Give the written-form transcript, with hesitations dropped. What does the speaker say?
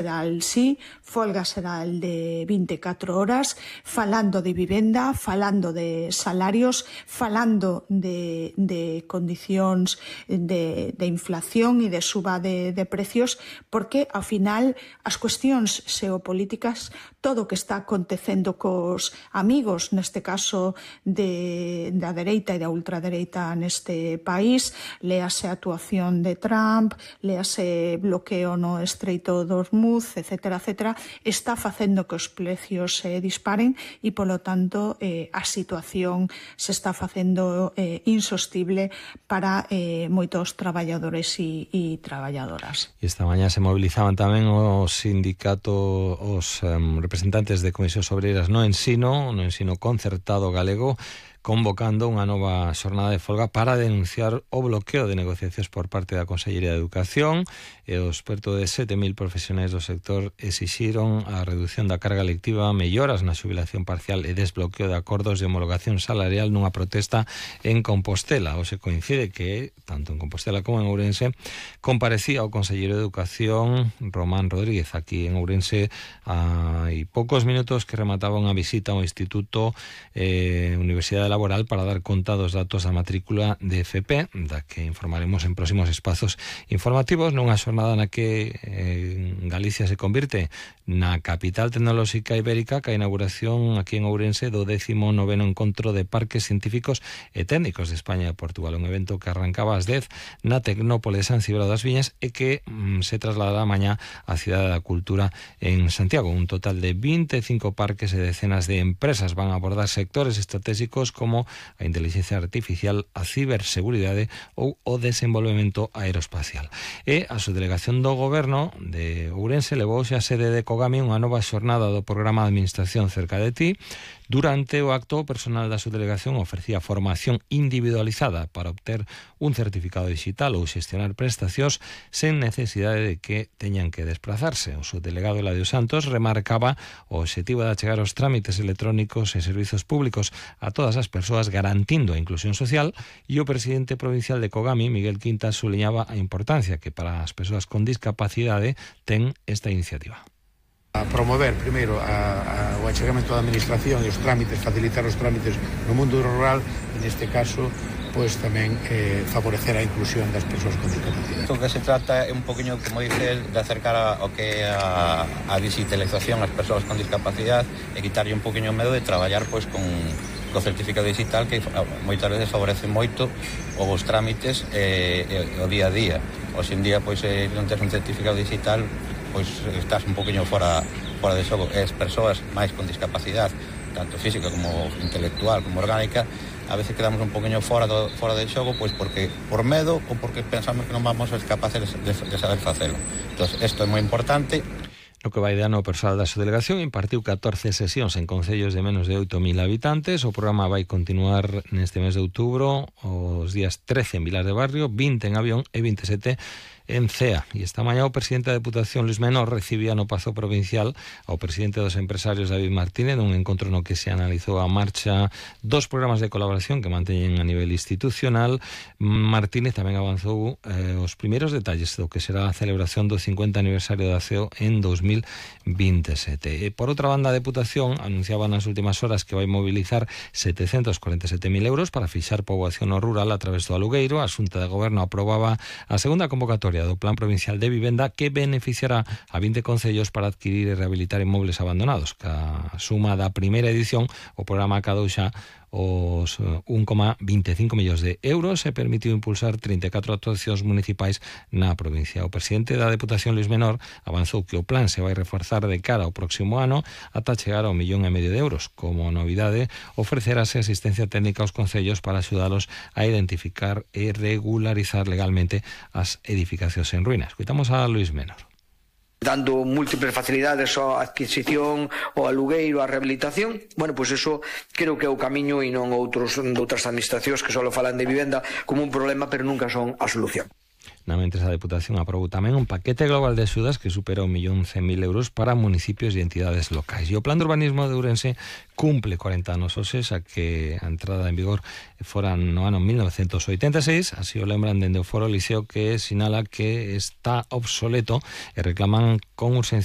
xeral sí, folga xeral de 24 horas, falando de vivenda, falando de salarios, falando de condicións de inflación e de suba de precios, porque, ao final, as cuestións xeopolíticas, todo o que está acontecendo cos amigos, neste caso da dereita e da ultradereita neste país, léase a actuación de Trump, léase bloqueo no Estreito de Hormuz, etcétera, etcétera, está facendo que os precios se disparen e, polo tanto, a situación se está facendo insostible para moitos traballadores e traballadoras. E esta mañá se movilizaban tamén os sindicatos, os representantes de Comisións Obreiras no ensino concertado galego, convocando unha nova xornada de folga para denunciar o bloqueo de negociacións por parte da Consellería de Educación, e os perto de 7.000 profesionais do sector exixiron a reducción da carga lectiva, melloras na xubilación parcial e desbloqueo de acordos de homologación salarial nunha protesta en Compostela. Hoxe coincide que, tanto en Compostela como en Ourense, comparecía o Conselleiro de Educación, Román Rodríguez, aquí en Ourense, hai poucos minutos que remataba unha visita ao Instituto Universidade Laboral para dar conta dos datos da matrícula de FP, da que informaremos en próximos espazos informativos, nunha xornada na que Galicia se convirte na capital tecnolóxica ibérica, ca inauguración aquí en Ourense do 19º Encontro de Parques Científicos e Técnicos de España e Portugal, un evento que arrancaba ás 10 na Tecnópole de San Cibrao das Viñas e que se trasladará mañá á Cidade da Cultura en Santiago. Un total de 25 parques e decenas de empresas van a abordar sectores estratégicos como a inteligencia artificial, a ciberseguridade ou o desenvolvemento aeroespacial. E a subdelegación do Goberno de Ourense levou xa a sede de Cogami unha nova xornada do programa de administración cerca de ti. Durante o acto, o personal da subdelegación ofrecía formación individualizada para obter un certificado digital ou xestionar prestacións sen necesidade de que teñan que desplazarse. O subdelegado Eladio Santos remarcaba o obxectivo de achegar os trámites electrónicos e servizos públicos a todas as persoas, garantindo a inclusión social, e o presidente provincial de Cogami, Miguel Quintas, suliñaba a importancia que para as persoas con discapacidade ten esta iniciativa. A promover, primeiro, o achegamento da administración e os trámites, facilitar os trámites no mundo rural, e neste caso, pois tamén favorecer a inclusión das persoas con discapacidade. O que se trata é un poquinho, como dices, de acercar ao que é a digitalización ás persoas con discapacidade e quitarlle un poquinho o medo de traballar pois con o certificado digital, que moitas veces favorece moito os trámites e o día a día. Hoxe en día, pois, non tens un certificado digital, pois estás un poquinho fora de xogo. E as persoas máis con discapacidade, tanto física como intelectual, como orgánica, a veces quedamos un poquinho fora de xogo, pois porque por medo ou porque pensamos que non vamos a ser capaces de saber facelo. Entón, isto é moi importante. No que vai de ano, o persoal da subdelegación impartiu 14 sesións en concellos de menos de 8.000 habitantes. O programa vai continuar neste mes de outubro, os días 13 en Vilar de Barrio, 20 en Avión e 27 en Cea. E esta mañá o presidente da Deputación, Luis Menor, recibía no Pazo Provincial ao presidente dos empresarios, David Martínez, nun encontro no que se analizou a marcha dos programas de colaboración que manteñen a nivel institucional. Martínez tamén avanzou os primeiros detalles do que será a celebración do 50 aniversario da CEO en 2027. E por outra banda, a Deputación anunciaba nas últimas horas que vai mobilizar 747.000 euros para fixar poboación no rural a través do alugueiro. A Xunta de Goberno aprobaba a segunda convocatoria do Plan Provincial de Vivenda, que beneficiará a 20 concellos para adquirir e rehabilitar inmobles abandonados. Ca suma da primeira edición, o programa acadou xa os 1,25 millóns de euros e permitiu impulsar 34 actuacións municipais na provincia. O presidente da Deputación, Luis Menor, avanzou que o plan se vai reforzar de cara ao próximo ano ata chegar ao 1,5 millón de euros. Como novidade, ofrecerase asistencia técnica aos concellos para axudalos a identificar e regularizar legalmente as edificacións en ruínas. Escoitamos a Luis Menor. Dando múltiples facilidades á adquisición, ao alugueiro, á rehabilitación. Bueno, pois eso creo que é o camiño e non outras administracións que só falan de vivenda como un problema, pero nunca son a solución. Mentres a Deputación aprobou tamén un paquete global de axudas que supera 1.100.000 euros para municipios e entidades locais. E o Plan de Urbanismo de Ourense cumple 40 anos hoxe, xa que a entrada en vigor fora no ano 1986, así o lembran dende o Foro Liceo, que sinala que está obsoleto e reclaman con urxencia